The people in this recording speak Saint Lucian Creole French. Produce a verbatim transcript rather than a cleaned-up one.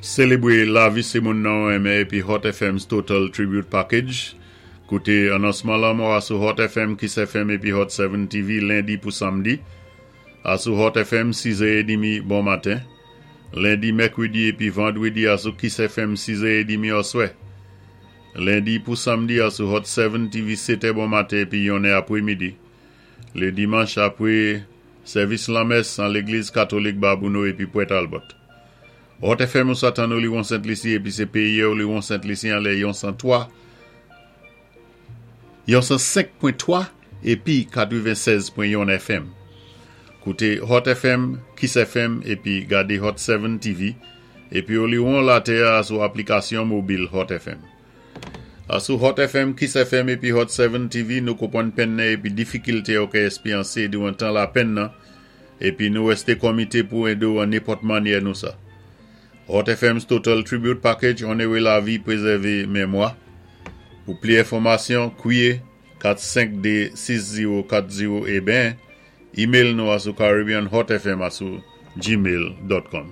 Sélébwé lavi sé moun nan ou enmen épi Hot F M's Total Tribute Package. Kouté anonsman lanmò a sou Hot F M, Kiss F M épi Hot sept T V lendi pou samdi. A sou Hot F M sis è trant bon maten. Lendi, mèkwédi épi vandwédi a sou Kiss F M sis è trant oswè. Lendi pou samdi a sou Hot sept T V sèt è bon maten épi yon è apwé midi. Lé dimanch apwé sèvis lanmès an légliz katolik Babonneau épi Port Talbot. Hot F M ou sa tann Oliwon Sent Lisi épi sé péyi Oliwon Sent Lisi an lè yon san twa, yon san senk pwen twa épi katwenn-sèz pwen yon F M. Kouté Hot F M, Kiss F M épi gadé Hot sept T V épi Oliwon latè a sou aplikasyon mobil Hot F M. A sou Hot F M, Kiss F M épi Hot sept T V, nou konpwann penn nan épi difikilté ou ka éspéryansé diwan tan lapenn nan épi nou wèsté komité pou édé ou an nenpòt mannyè nou sa. Hot F M's Total Tribute Package, onoré lavi, pwézèvé mémwa. Pou pli enfòmasyon, kwiyé kat senk de sis zewo kat zewo é ben, email nou a sou caribbeanhotfm a sou gmail dot com.